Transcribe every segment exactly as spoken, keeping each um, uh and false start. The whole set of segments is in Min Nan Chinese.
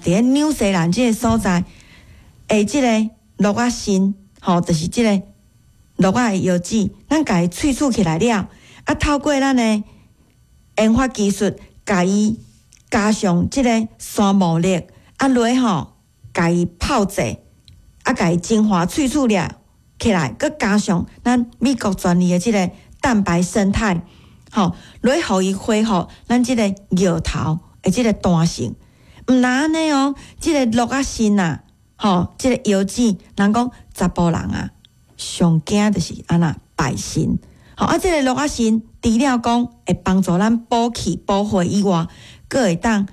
佇咧紐西蘭這个所在，的這个鹿仔腎，吼，就是這个鹿仔的藥籽，咱共伊萃取起來了，啊，透過咱的研發技術，共伊加上這个山牡蠣，啊落吼，共伊泡製，啊，共伊精華萃取了起來，閣加上咱美國專利的這个蛋白胜肽，吼，來予伊恢復咱這个尿頭的這个彈性。毋但按呢哦，這个鹿仔腎啊，吼，這个藥籽，人講查埔人啊，上驚就是按怎敗腎。吼啊，這个鹿仔腎除了講會幫助咱補氣補血以外，閣會當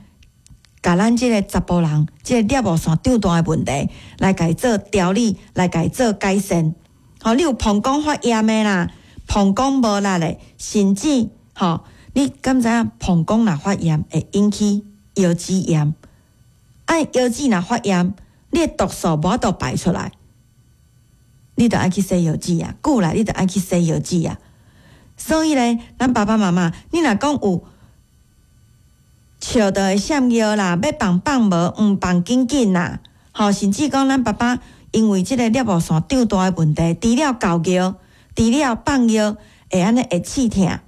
共咱這个查埔人這个尿路線長大的問題，來共伊做調理，來共伊做改善。吼，你有膀胱發炎的啦，膀胱無力的，甚至吼，你敢知影膀胱若發炎會引起腰子炎？啊，腰子若發炎，你的毒素無法度排出來，你著愛去洗腰子啊！久來你著愛去洗腰子啊！所以咧，咱爸爸媽媽，你若講有笑著會閃尿啦，欲放放無，毋放緊緊啦，吼，甚至講咱爸爸因為這个尿路線長大的問題，除了猴尿，除了放尿會按呢會刺疼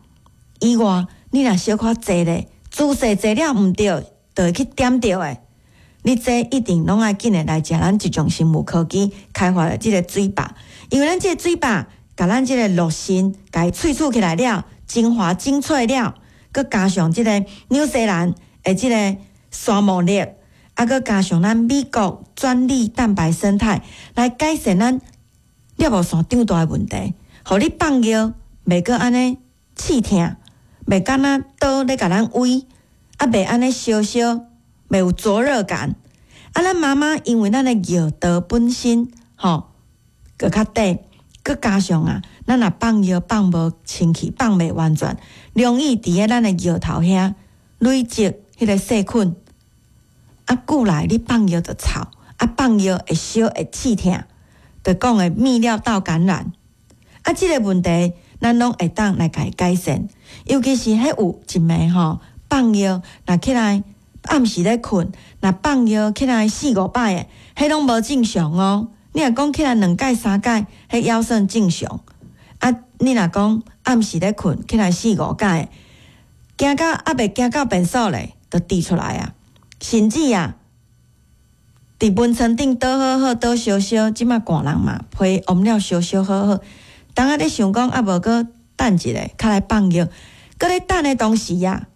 以外，你若小可坐咧，姿勢坐了毋對，就會去點著的。你這一定攏愛緊的來食咱一種生物科技開發的這个水吧，因為咱這个水吧，共咱這个鹿腎共伊萃取起來了，精華精粹了，閣加上這个紐西蘭的這个山牡蠣，啊，閣加上咱美國專利蛋白胜肽，來改善咱尿路線長大的問題，予你放尿袂閣按呢刺疼，袂敢若刀咧共咱崴，啊，袂按呢燒燒。袂有灼熱感，啊！咱媽媽因為咱的尿道本身吼，閣較短，閣加上啊，咱若放尿放無清氣，放袂完全，容易佇咧咱的尿頭遐累積彼个細菌。啊，久來你放尿就臭，啊，放尿會燒會刺疼，就講的泌尿道感染。啊，這个問題咱攏會當來共伊改善，尤其是彼有一暝吼放尿，若起來。暗時咧睏，若放尿起來四五擺的，彼攏無正常哦。你若講起來兩擺三擺，彼猶算正常。啊，你若講暗時咧睏起來四五擺，行到猶未行到便所咧，就滴出來啊。甚至啊，佇眠床頂倒好好倒燒燒，這馬寒人嘛，被捂了燒燒好好。當仔咧想講啊，無閣等一下，較來放尿，閣咧等的當時啊，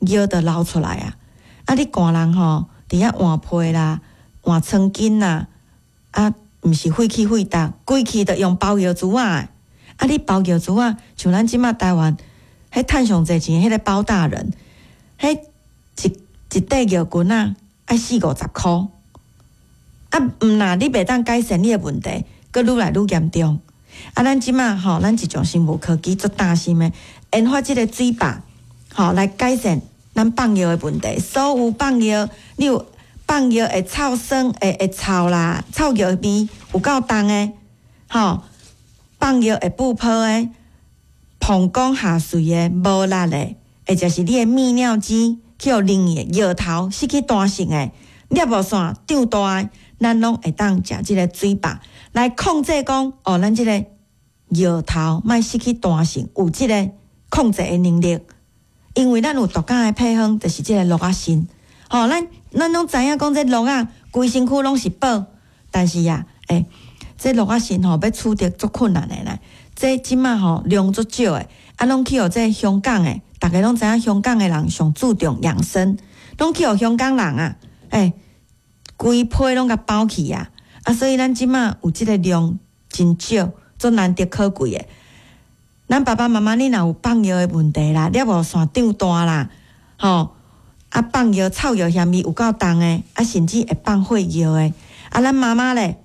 尿就流出來啊。啊！你寒人吼，佇遐換被啦、換床巾啦，啊，毋是廢氣廢逐，規氣著用包尿珠仔。啊，你包尿珠仔，像咱這馬台灣，彼趁上濟錢，彼个包大人，彼一一塊尿巾仔愛四五十箍。啊，毋若你袂當改善你的問題，閣愈來愈嚴重。啊，咱這馬吼，咱一種生物科技足擔心的，研發這个水壩，吼來改善咱放尿的問題，所有放尿，你有放尿會臭酸、會會臭啦，臭尿味有夠重的，吼，放尿會爆泡的，膀胱下垂的、無力的，或者是你的泌尿肌去予冷的尿頭失去彈性的，尿路線長大的，咱攏會當食這个水壩來控制講，哦，咱這个尿頭莫失去彈性，有這个控制的能力。因為咱有獨家的配方，就是這个鹿仔腎。吼，咱咱攏知影講這鹿仔規身軀攏是寶，但是啊，欸，這鹿仔腎吼欲取得足困難的啦。這這馬吼量足少的，啊，攏去予這香港的，逐家攏知影香港的人上注重養生，攏去予香港人啊，欸，規批攏共包去啊，啊，所以咱這馬有這个量真少，足難得可貴的。咱爸爸媽媽，你若有放尿的問題啦，尿路線長大啦，吼，啊放尿臭尿嫌味有夠重的，啊甚至會放血尿的，啊咱媽媽咧，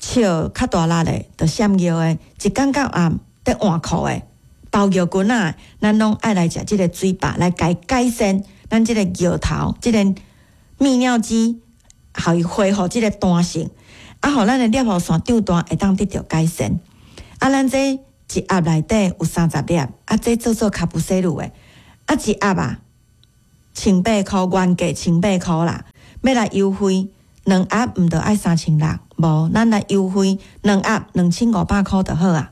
笑較大力咧，就閃尿的，一工到暗佇換褲的，包尿巾仔，咱攏愛來食這个水壩來共伊改善咱這个尿頭，這个泌尿肌，予伊恢復這个彈性，啊，予咱的尿路線長大會當得著改善。啊，咱這一盒內底有三十粒，啊，這做做卡布西魯的，啊，一盒啊，千八箍，原價千八箍啦。欲來優惠，兩盒毋著愛三千六，無，咱來優惠兩盒兩千五百箍就好啊。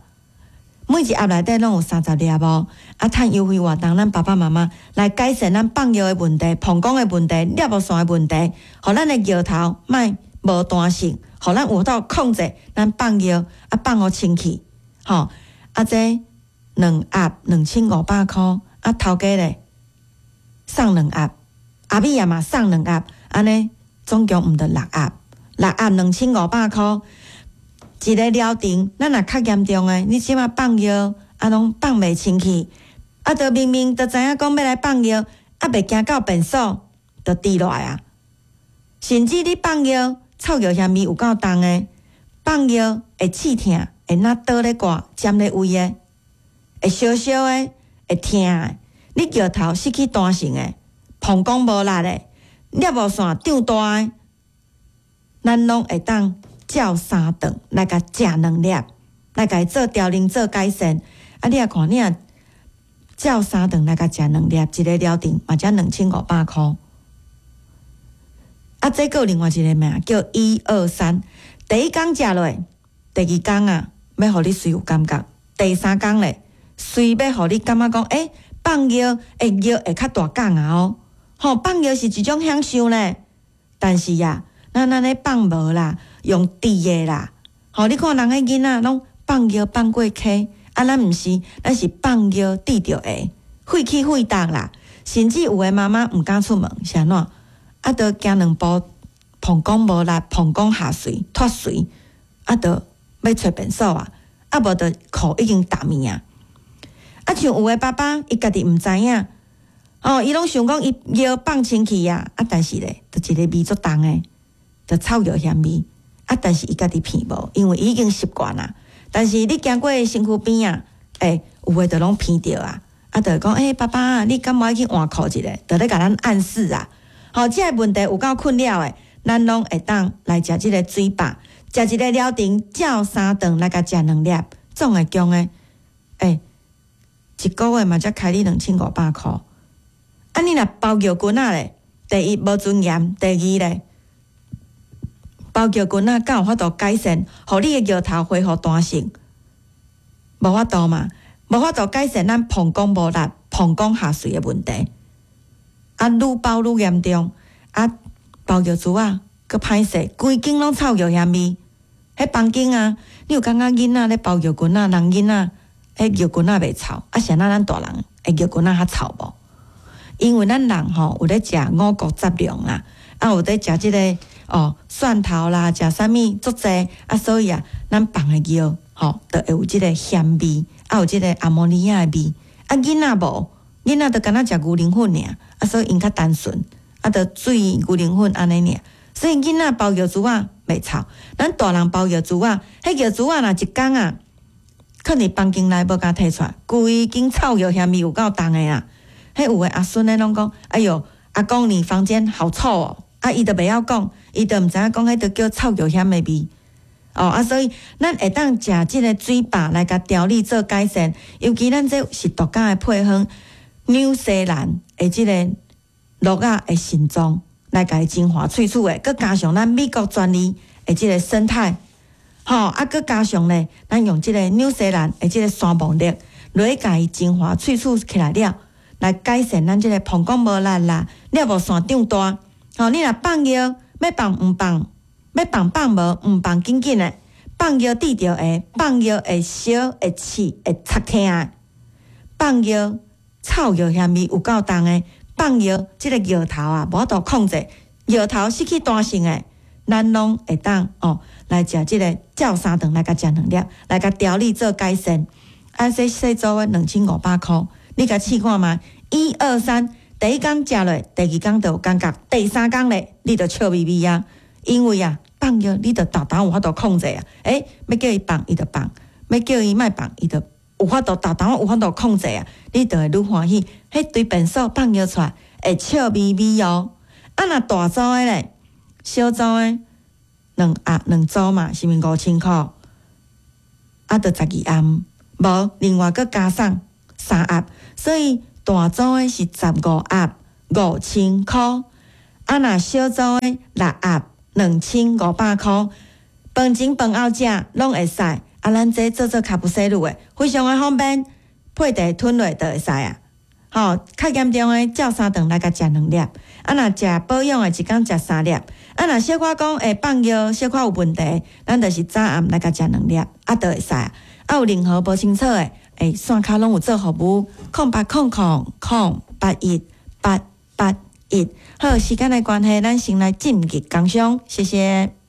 每一盒內底攏有三十粒哦。啊，趁優惠活動，咱爸爸媽媽來改善咱放尿的問題、膀胱的問題、尿無線的問題，予咱的尿頭莫無彈性，予咱有法度控制咱放尿，啊放予清氣，吼。啊，這兩盒兩千五百箍，啊頭家咧送兩盒，阿米也嘛送兩盒，按呢總共毋著六盒，六盒兩千五百箍。一个療程，咱若較嚴重的，你這馬放尿啊，攏放袂清氣，啊，著明明著知影講欲來放尿，啊，袂行到便所，就滴落來啊。甚至你放尿臭尿腥味有夠重的，放尿會刺疼，會若刀咧割、針咧位的，會燒燒的，會疼的。你尿頭失去彈性的，膀胱無力的，尿無線脹大的，咱攏會當照三頓來共食兩粒，來共伊做調理做改善。啊，你若看，你若照三頓來共食兩粒，一个療程嘛才兩千五百箍。啊，這閣有另外一个名叫一二三。第一工食落，第二工啊，欲予你隨有感覺；第三工咧，隨欲予你感覺講，欸，放尿會尿會較大工啊哦。吼，放尿是一種享受呢。但是啊，咱按呢放無啦，用滴的啦。吼，你看人彼囡仔攏放尿放過溪，啊，咱毋是，咱是放尿滴著下，血氣血逐啦。甚至有的媽媽毋敢出門，是按怎？啊，著行兩步，膀胱無力，膀胱下垂脫垂，啊，著欲揣便所啊，啊，無著褲已經沓物啊。啊，像有的爸爸，伊家己毋知影，哦，伊攏想講伊尿放清氣啊，啊，但是咧，著一个味足重的，著臭尿腥味，啊，但是伊家己鼻無，因為伊已經習慣啦。但是你行過身軀邊啊，欸，有的就攏鼻著啊，啊，就會講，欸，爸爸，你敢無愛去換褲一下？就咧共咱暗示啊。吼，這个問題有夠困擾的，咱攏會當來食這个水飽，食一個療程，照三頓來共食兩粒，總會共的，欸，一個月嘛才開你兩千五百箍。啊，你若包尿巾仔咧，第一無尊嚴，第二咧，包尿巾仔敢有法度改善，予你的尿頭恢復彈性？無法度嘛，無法度改善咱膀胱無力、膀胱下垂的問題。啊，愈包愈嚴重，啊，包尿珠仔閣歹勢，規間攏臭尿腥味。彼房間啊，你有感覺囡仔咧包尿巾仔，人囡仔彼尿巾仔袂臭，啊，是按怎咱大人的尿巾仔較臭無？因為咱人吼有咧食五穀雜糧啦，啊有咧食這个哦蒜頭啦，食啥物足濟，啊所以啊，咱放的尿吼就會有這个鹹味，啊有這个阿摩尼亞的味，啊囡仔無，囡仔就敢若食牛奶粉爾，啊所以𪜶較單純，啊就水牛奶粉按呢爾，所以囡仔包尿珠仔袂臭，咱大人包尿珠仔，彼尿珠仔若一工啊，囥佇房間內無共提出來，規間臭尿腥味有夠重的啦。彼有的阿孫咧攏講，哎喲，阿公你房間好臭哦！啊，伊就袂曉講，伊就毋知影講彼就叫臭尿腥的味。哦，啊，所以咱會當食這个水飽來共調理做改善，尤其咱這是獨家的配方，紐西蘭的這个鹿仔的腎臟來共伊淨化萃取的，閣加上咱美國專利的這个胜肽，吼，啊，閣加上咧，咱用這个紐西蘭的這个山薔力來共伊淨化萃取起來了，來改善咱這个膀胱無力啦，尿無線脹大。吼，你若放尿，欲放毋放，欲放放無，毋放緊緊的，放尿滴著下，放尿會燒、會刺、會插疼的，放尿臭尿腥味有夠重的，放尿這个尿頭啊無法度控制，尿頭失去彈性的，咱攏會當哦來食這个照三頓來共食兩粒，來共調理做改善。啊，這細組的兩千五百箍，你共試看覓？一二三，第一工食落，第二工就有感覺，第三工咧，你就笑眯眯啊！因為啊，放尿你就沓沓有法度控制啊！欸，欲叫伊放，伊就放；欲叫伊莫放，伊就有法度沓沓有法度控制啊！你就會愈歡喜。彼堆便所放尿出來會笑眯眯哦。啊，若大組的咧，小組的兩盒兩組嘛，是毋是五千箍？啊，就十二頷，無另外閣加送三盒，所以大組的是十五盒五千箍。啊，若小組的六盒兩千五百箍，飯前飯後食攏會使。啊，咱這做做卡普西魯的，非常的方便，配茶吞落就會使啊。吼，較嚴重的照三頓來共食兩粒，啊，若食保養的一工食三粒，啊，若小可講會放尿，小可有問題，咱就是早暗來共食兩粒，啊，就會使。啊，有任何無清楚的，欸，線跤攏有做服務，空八空空空八一八八一。好，時間的關係，咱先來進入工商，謝謝。